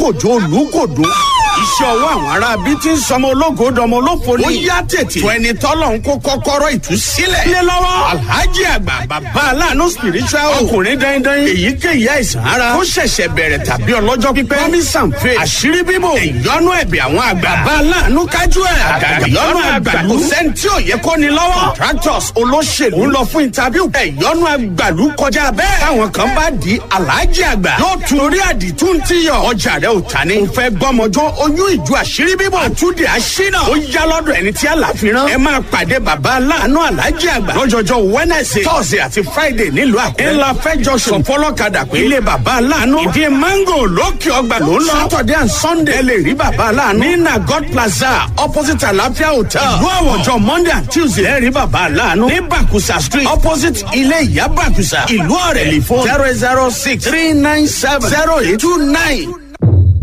Olùkòjó Olùkòdó. Iṣẹ́ ọwọ́ àwọn ará bí ti ń sọmọ ológo dọmọ olófo ni. Ó yá tètè. Tó ẹni tọ́lọ̀ ń kó kọ́kọ́rọ́ ìtúsílẹ̀. Lé lọ́wọ́. Alhaji àgbà bàbá aláàánú spiritual. Ọkùnrin dandan. Èyíkéyìí àìsàn ara. Ó ṣẹ̀ṣẹ̀ bẹ̀rẹ̀ tàbí ọlọ́jọ́ pípẹ́. Promise and faith. Àṣírí bíbò. Ìyọnu ẹ̀bẹ̀ àwọn àgbà. Bàbá aláàánú kájú ẹ̀. Àgàgà ìyọnu àgbàlú. Kò sẹ́ni tí ò yẹ kó ni lọ́wọ́. Contractors olóṣèlú ń lọ fún interview. Ìyọnu àgbàlú kọjá bẹ́ẹ̀. Táwọn kan bá di Alhaji àgbà. Yóò tún orí àdìtú ti yọ. Ọjà rẹ̀ ò ta ni. Mo fẹ́ gbọ́mọjọ́ oyún ìjú àṣírí bíbọ̀. Àtúndì àṣínà. Ó yá lọ́dọ̀ ẹni tí àlàfíran. Ẹ máa pàdé bàbá aláàánú Alhaji àgbà. Lọ́jọ́jọ́ Wednesday, Thursday àti Friday nílùú Àkúrẹ́. Ńlá fẹ́ junction fọlọ́kadà pé ilé bàbá aláàánú. Ìdí mango lókè ọgbà ló ń lọ. Saturday and Sunday ẹ lè rí bàbá aláàánú. Ní Nagot Plaza opposite Àlàáfíà Hotel. Ìlú Àwọ̀jọ Monday and Tuesday ẹ rí bàbá aláàánú. Ní Bàkúsà Street opposite ilé ìyá Bàkúsà. Ìlú Ọ̀rẹ́ lè fún 006 397 0829.